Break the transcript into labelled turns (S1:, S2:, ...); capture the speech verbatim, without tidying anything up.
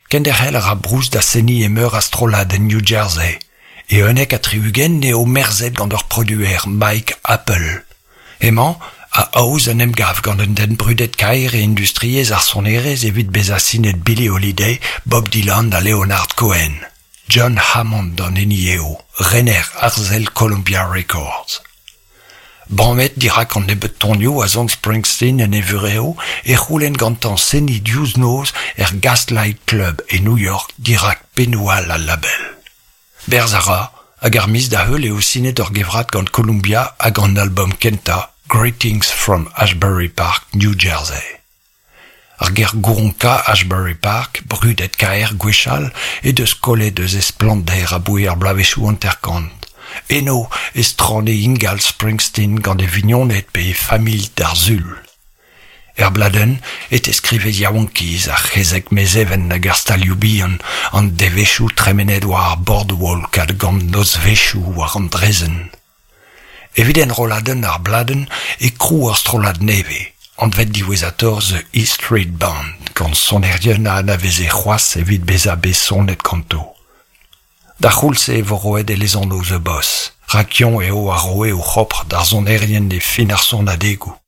S1: Kenderc'hel a ra Bruce da seniñ e meur a strollad en New Jersey. E unnek ha tri-ugent eo merzet gant ur produer, Mike Appel. Hemañ a aoz un emgav gant un den brudet-kaer e industriezh ar sonerezh evit bezañ sinet Billie Holiday, Bob Dylan ha Leonard Cohen. John Hammond an hini eo, rener arzel Columbia Records. Bamet dirak an nebeud tonioù a son Springsteen en e vurev e c'houlenn gantañ seniñ diouzh noz er Gaslight Club e New York dirak pennoù all al label. Berzh a ra, hag ar miz da heul eo sinet ur gevrat gant Columbia hag an albom kentañ Greetings from Asbury Park, New Jersey. Ar gêr gouronkañ Asbury Park, brudet-kaer gwechall, he deus kollet eus he splannder aboe ar bloavezhioù hanter-kant. Eno e strane ingal Springsteen gant e vignoned pe e familh d'ar Sul. Er bladenn e teskrive yaouankiz ar c'hezeg Mezheven hag ar stalioù bihan, an devezhioù tremenet war ar boardwalk hag an nozvezhioù war an draezhenn. Evit enrolladenn ar bladenn e krou ur strollad nevez, anvet diwezhatoc'h The E Street Band, gant sonerien a anaveze c'hoazh evit bezañ bet sonet ganto. D'ar c'houlz-se e vo roet e lesanv The Boss, rak eñ eo a roe o c'hopr d'ar sonerien e fin ar sonadegoù.